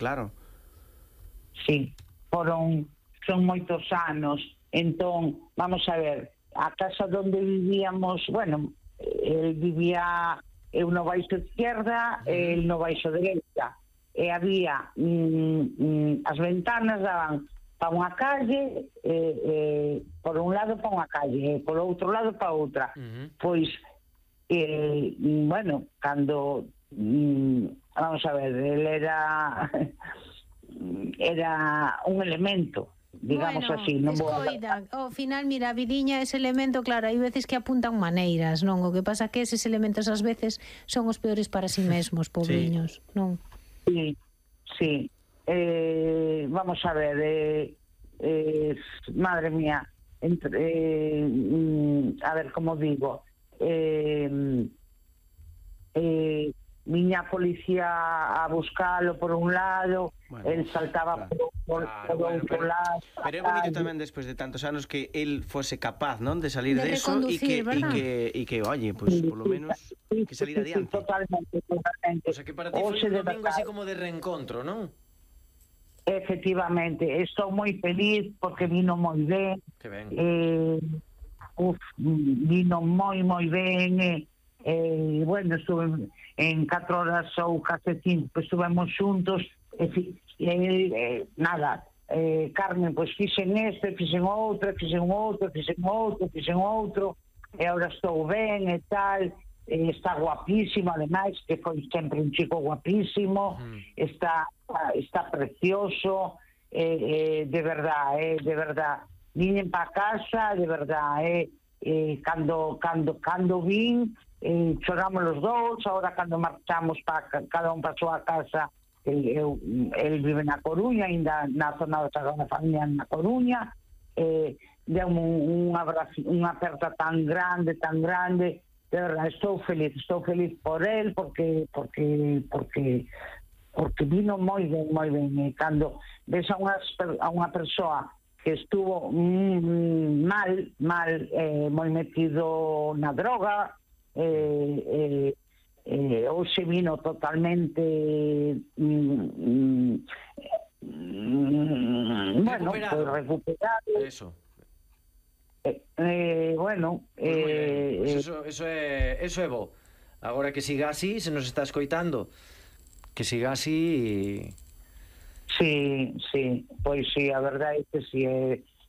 claro. Sí, son moitos anos. Entón, vamos a ver, a casa onde vivíamos, bueno, el vivía eu no baixo izquierda, el no baixo derecha, e había as ventanas daban para unha calle, por un lado para unha calle, e por outro lado para outra. Pois, bueno, cando vamos a ver, el era un elemento, digamos, bueno, así, non vou escoida, ao final, mira, a vidiña, ese elemento, claro, hai veces que apuntan maneiras, non? O que pasa que eses elementos ás veces son os peores para si mesmos, pobriños, non? Sí, sí. Vamos a ver, madre mía, a ver, como digo, viña a policía a buscalo por un lado, bueno, el saltaba por outro lado. Pero é bonito tamén despois de tantos anos que el fose capaz, non, de salir de eso e que, oye, pues por lo menos que salir adiante. Totalmente. O sea, que para ti foi un domingo así como de reencontro, non? Efectivamente, estou moi feliz porque vino moi ben. Que ben. Vino moi ben. Bueno, estuve en 4 horas ou case 5, pues estuvemos xuntos, nada, Carmen, pues fixen este, fixen outro, e agora estou ben e tal, está guapísimo, ademais, que foi sempre un chico guapísimo, está precioso, de verdad, viñen para casa, de verdad, cando vin, choramos los dous. Agora cando marchamos para cada un para a súa casa, el vive na Coruña, ainda na zona da Sagrada Familia na Coruña, deu un abrazo, unha aperta tan grande, de verdad, estou feliz por el, porque vino moi ben, e cando ves a unha persoa que estuvo mal, moi metido na droga, hoxe vino totalmente bueno, pues recuperado. Eso. Bueno, pues eso é bo. Agora que siga así, se nos está escoitando, que siga así. Sí, pois sí, a verdade é que sí,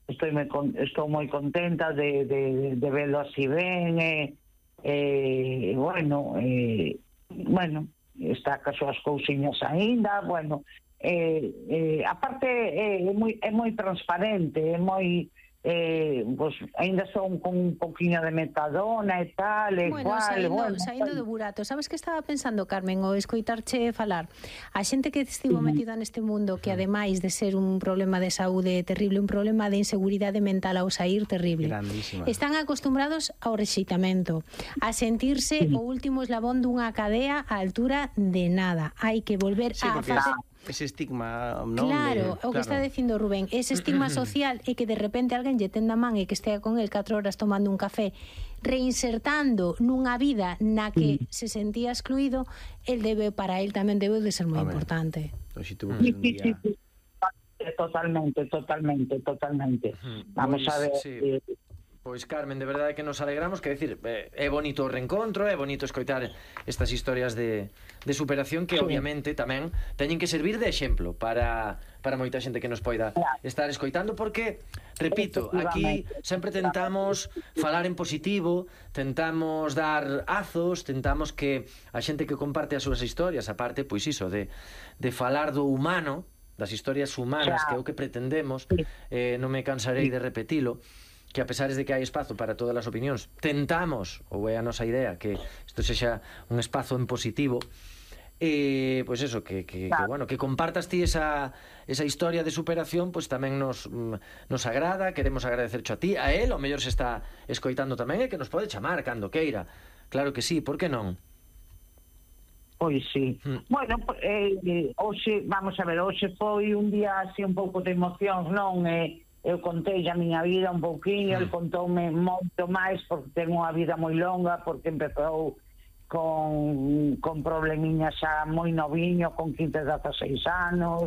estou moi contenta de verlo así ben, bueno, está ca súas cousiñas aínda, bueno, aparte é moi transparente, é moi, pues aínda son con un poquinho de metadona e tal, saindo do burato. Sabes que estaba pensando, Carmen, o escoitarche falar, a xente que estivo metida neste mundo, que ademais de ser un problema de saúde terrible, un problema de inseguridade mental ao sair terrible, están acostumbrados ao rexeitamento, a sentirse o último eslabón dunha cadea á altura de nada. Hai que volver a facer ese estigma, non? Claro, o que está dicindo Rubén, ese estigma social é que de repente alguén lle tenda man e que estea con el 4 horas tomando un café, reinsertando nunha vida na que se sentía excluído, para el tamén debe de ser moi importante. Pois si tuvo que un día... Totalmente. Vamos a ver... Pois, Carmen, de verdade que nos alegramos, que decir, é bonito o reencontro, é bonito escoitar estas historias de superación que obviamente tamén teñen que servir de exemplo para moita xente que nos poida estar escoitando, porque, repito, aquí sempre tentamos falar en positivo, tentamos dar azos, tentamos que a xente que comparte as súas historias, aparte, pois iso, de falar do humano, das historias humanas, que é o que pretendemos, non me cansarei de repetilo, que a pesares de que hai espazo para todas as opinións, tentamos, ou é a nosa idea, que isto sexa un espazo en positivo, pois eso, que bueno, que compartas ti esa historia de superación, pois tamén nos agrada, queremos agradecercho a ti, a él, ao mellor se está escoitando tamén, e que nos pode chamar cando queira, claro que sí, por que non? Pois sí. Bueno, hoxe, vamos a ver, hoxe foi un día así un pouco de emocións, non? Eu contei a miña vida un pouquinho, el contoume moito máis porque ten unha vida moi longa, porque empezou con problemiñas xa moi noviño, con 15, 16 anos,